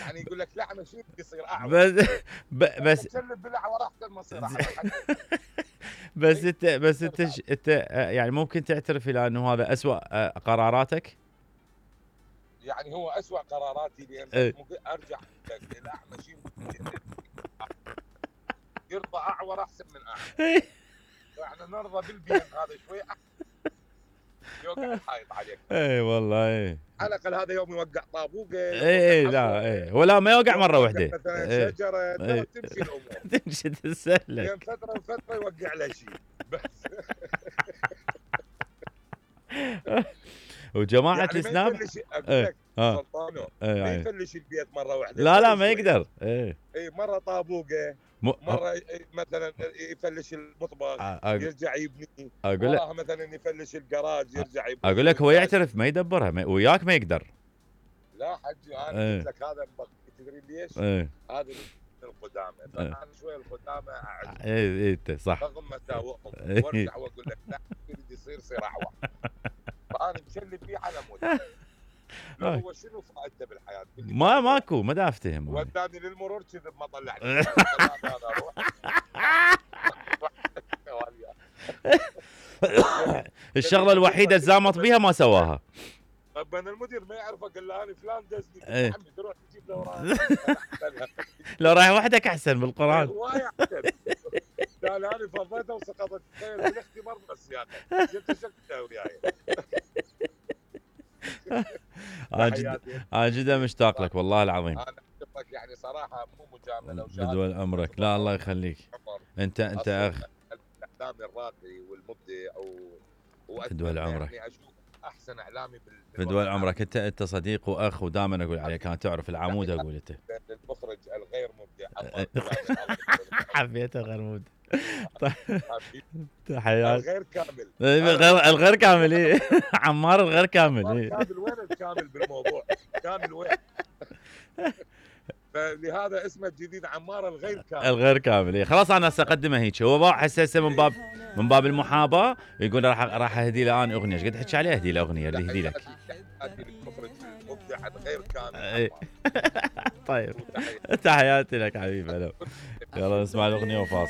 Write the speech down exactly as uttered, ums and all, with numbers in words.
يعني يقول لك لا مشي يصير اعور. بس ب- بس تسلب بالاعور احسن ما تصير اعور. بس انت بس انت ش- انت آه، يعني ممكن تعترف الى انه هذا اسوأ آه، قراراتك؟ يعني هو اسوء قراراتي لان بس إيه. ممكن ارجع لك الاعمى شيء يرضى اعور احسن من اعمى. فاحنا نرضى بالبين هذا شوي يوقع الحائط عليك. اي والله اي. على الاقل هذا يوم يوقع طابوقه اي لا اي ولا ما يوقع مره واحده. مثلا ايه. شجره ترى ايه. تمشي الامور. تمشي تسلك. بين فتره وفتره يوقع له شيء بس. وجماعه يعني الاسلام ما يفلش اقول لك سلطانو ما يفلش البيت مره واحده. لا لا ما يقدر. ايه اي مره طابوقه م... مره مثلا يفلش المطبخ أقول... يرجع يبني. اقول لك مثلا يفلش الجراج يرجع يبني. اقول لك هو يعترف ما يدبرها ما... وياك ما يقدر. لا حجي انا قلت لك هذا تدري ليش؟ ايه. هذا القدامى فانا شوي القدامى اعجب. اي اي انت صح. رغم مساوئهم وارجع واقول لك لا يريد يصير يصير اعور. فانا مشلب فيه على مود. هو شنو فائدته بالحياه؟ ما ماكو ما دا افتهم. وداني للمرور كذب ما طلعني. الشغله الوحيده الزامط بيها ما سواها. طب انا المدير ما يعرف اقول له انا فلان دزني يا عمي تروح تجيب له وراه. لو رايح وحدك احسن بالقران. هواي احسن. قال انا فضيته وسقطت بالاختبار بالسياقه. جبت شكله وياي. انا جدا مشتاق لك والله العظيم. انا اشوفك يعني صراحه مو مجامله بدول عمرك. لا الله يخليك. انت انت اخ الاعلامي الراقي والمبدع و بدول عمرك. يعني اشوف احسن اعلامي بدول عمرك. انت انت صديق واخ ودائما اقول عليك انا تعرف العمود اقول انت. المخرج الغير مبدع. حبيته غير مبدع. طيب تحيات. الغير كامل. الغير الغير كامل ايه. عمار الغير كامل ايه. كامل وين الكامل بالموضوع؟ كامل وين؟ فلهذا اسمه الجديد عمار الغير كامل. الغير كامل اي خلاص انا ساقدمه هيك. هو هسه هسه من باب من باب المحاباه يقول راح راح اهدي له انا اغنيه. ايش قد تحكي عليه؟ اهدي له اغنيه اللي يهدي لك. اهدي المخرج المبدع الغير كامل. طيب تحياتي لك حبيبي. يلا نسمع الاغنيه وفاصل.